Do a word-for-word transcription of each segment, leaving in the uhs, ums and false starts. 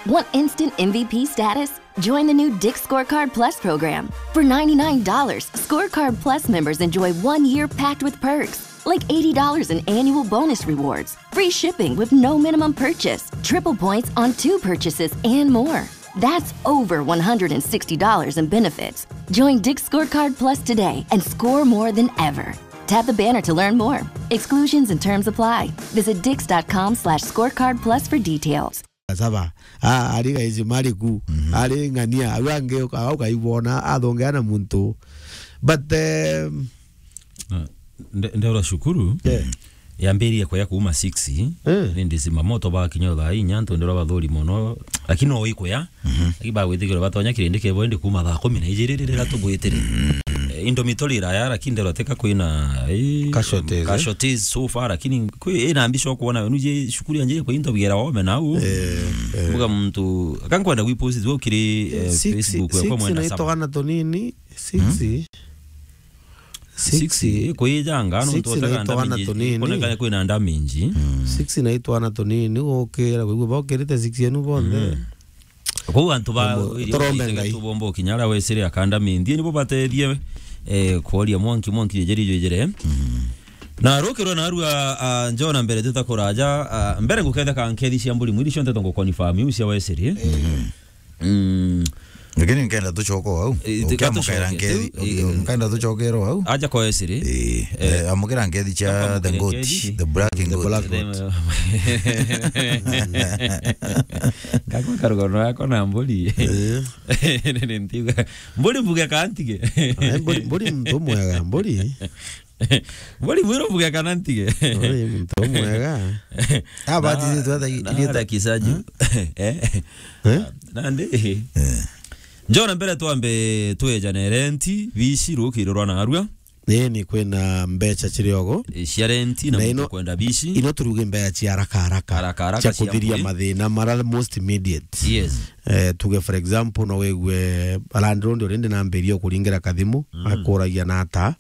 Want instant M V P status? Join the new Dick's Scorecard Plus program. For ninety-nine dollars, Scorecard Plus members enjoy one year packed with perks, like eighty dollars in annual bonus rewards, free shipping with no minimum purchase, triple points on two purchases, and more. That's over one hundred sixty dollars in benefits. Join Dick's Scorecard Plus today and score more than ever. Tap the banner to learn more. Exclusions and terms apply. Visit dicks.com slash scorecard plus for details. Saba. Ah, ari gaici mariku. Ari ng'ania. Au angi uka-, ukaibona athongea na muntu. But, um, Ah, nde- ndeura cukuru. Yeah. Yambiririe kuya kuuma six. Ni ndisima moto ba kinya thaa inya ntu ndira bathuri mono. Lakini no ikuya. Aki bagwitikirwa batonya kirindi kebo indi kuuma thaa kumi na ijiri rira tubwitire. Eh, indo mitori iraya lakini ndero teka kwina, eh, Casualties, eh? Casualties so far, lakini kwi ina mbisho kuona wenu je cukuru yanje kwa into bigera wome nau. Mbuga muntu kankwenda gwipost tu kiri, eh, Six, Facebook yakwa six mwenda na saba. Itwana tunini. Six. Six, eh, kwijanga no Six ntotaka na itwana ndamenji, tunini. Ikonekane kwina ndamenji. Six na itwana tunini gukira kwigua bokirite six yenu bonthe. Kou antu ba Tumbo-, turombe Ngai. Tubomba kinya ara wesire akanda mindi nibo batethie, eh, kuoria mwanki mwanki jejeri jejere. Na rukirwa na arua, ah, njona mbere tutakuraja, ah, mbere nguketha ka nkethi cia mburi mwiri cionte tongo confirm iu cia wesire. Mm. Lakini nkenda tucoke au. Eh, tika Ukiamukira tucoke nkethi, tu, eh, nkenda tucokere au. Aja kwa wesire. Eh, eh, amukira nkethi cia the goat, the black goat. Black goat. Ngakwa karugono yako na mburi. Nini ntiga. Mburi mbuge kantige. Eh, mburi, mburi muntu mwega, mburi. Mburi mwiro mbuge kana ntige. Mburi muntu mwega. Abati twatha Nara kisaju. Eh? Eh? Nandi. Njona mbere twambe twejane renti, bici rukirwa na arua. Ni ni kwina mbeca ciri ogo. E, cia renti na na ino kwenda bici. Ino turuge mbeca cia haraka haraka. Haraka haraka cia kuthiria mathina mara most immediate. Yes. Eh, tuge for example no wigue landlord already nambiria kuringira kathimu, mm, akuragia na ata.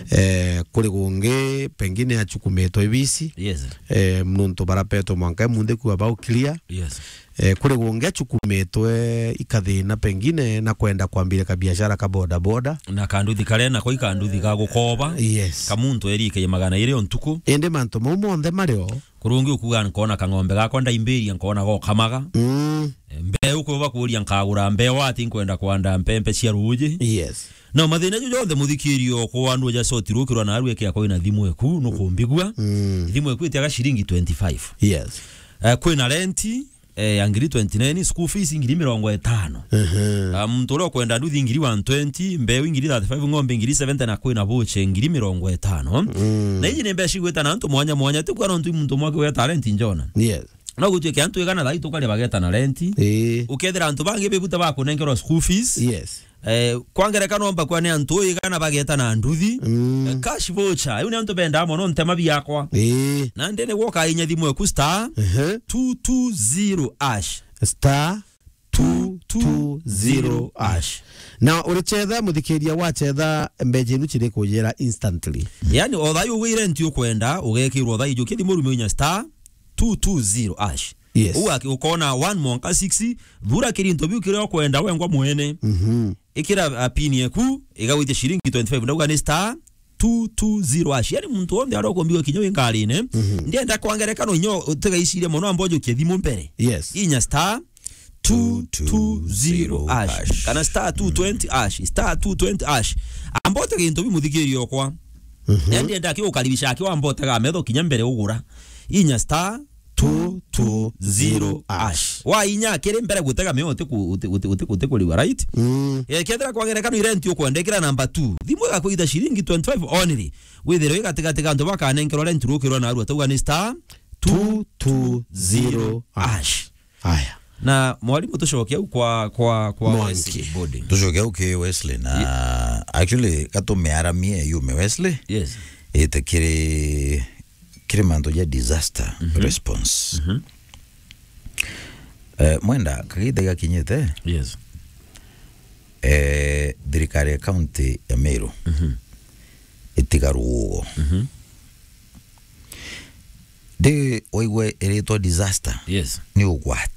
Eh, kuri gungi pengine achukumitwe ibici. Yes. Eh, nuntu barapetwe mwanka munthi kuwa bau clear. Yes. Eh, kuri gungi achukumitwe ikathina pengine na kwenda kwambiria kabiashara ka boda boda. Na kanduthi karia nako ikanduthi ga gukoba. Yes. Ka muntu erike magana iri o ntuku. Indi mantu mau monthe mario. Kurungi ukuga nkona kang'ombe gakwa ndaimbiria nkona gokamaga. Mm. Eh, mbeu kuba kuria nkagura mbeu ati nkwenda kwanda mpempe cia ruji. Yes. Na mathina ju jonthe muthikirio kwa andu ja soti rukirwa na arweke akwa ina thimu eku nukumbigua. Mm. Thimu eku itiaga ciringi twenty-five. Yes. Eh, kwina renti, eh, ya ngiri twenty-nine, school fees ngiri mirongo itano. Mhm. Ah, muntu uria ukwenda nduthi ngiri one twenty, mbeu ngiri thirty-five, ng'ombe ngiri seventy, na kwina boche ngiri mirongo itano. Mm. Na iji ni mbeca igwita na antu mwanya mwanya, ti kuga nontu muntu umwe akiuga talent njona. Yes. No gutuike antu igana thai tukari bageta na renti. Ii. Ukethira antu bangi bibuta bakunengerwa school fees. Yes. Eh, kwa ngerekano mba kwa ni antu igana bageta na nduthi. Mm. Eh, cash voucher. Iu ni antu bendaa mono ntema biakwa. Ii. Na ndene gwoka inya thimu eku star, ehe, two two zero hash. Star two two zero hash. Na urichetha, muthikiria, wachetha mbeca inu ciri kujira instantly. Yani, o thayu ugwire nti ukwenda, ugekirwo thayu, jukia thimu rume inya star two two zero hash. Yes. Uu aki-, ukona one mwanka six, thura kirinto biu kiria ukwenda wengwa mwene. Mhm. Ikira, a, pin yeku, igagwitia ciringi twenty-five, ndauga ni star two two zero hash. Yani muntu wonthe aria ukumbiwa kinya wi ngarine, mhm, ndienda kwa ngerekano inya utigaicirie mono, amba ujukie thimu mbere. Yes. Inya star two two zero hash. Kana star two twenty hash, star two twenty hash. Amba utege into bimuthikirie okwa. Mhm. Yani ndienda aki ukaribisha aki wamba utega metho kinya mbere ugura. Inya star two two zero hash. Wa inya akiri mbere gutega meo uti ku-, uti, uti, uti, uti kuriwa, right? Mm. Eh, kethira kwa ngerekano irenti ukwenda ikira number two. Thimu igakwita ciringi twenty-five only. Withirwe igatigatiga antu bakanenkerwa renti rukirwa na arua tauga ni star two two zero hash. Aya. Na mwalimu tucoke au kwa, kwa, kwa Mwanki. Wesley Body. Tucoke au ki Wesley na actually gatume aramie yume Wesley. Yes. Ite kiri, kiri mantu ja disaster, mhm, response. Mhm. Eh, mwenda kagita gakinyite. Yes. Eh, thirikari ya county ya Meru, mhm, itiga ruugo. Mhm. Ndi waigua iritwa disaster, yes, ni ugwati.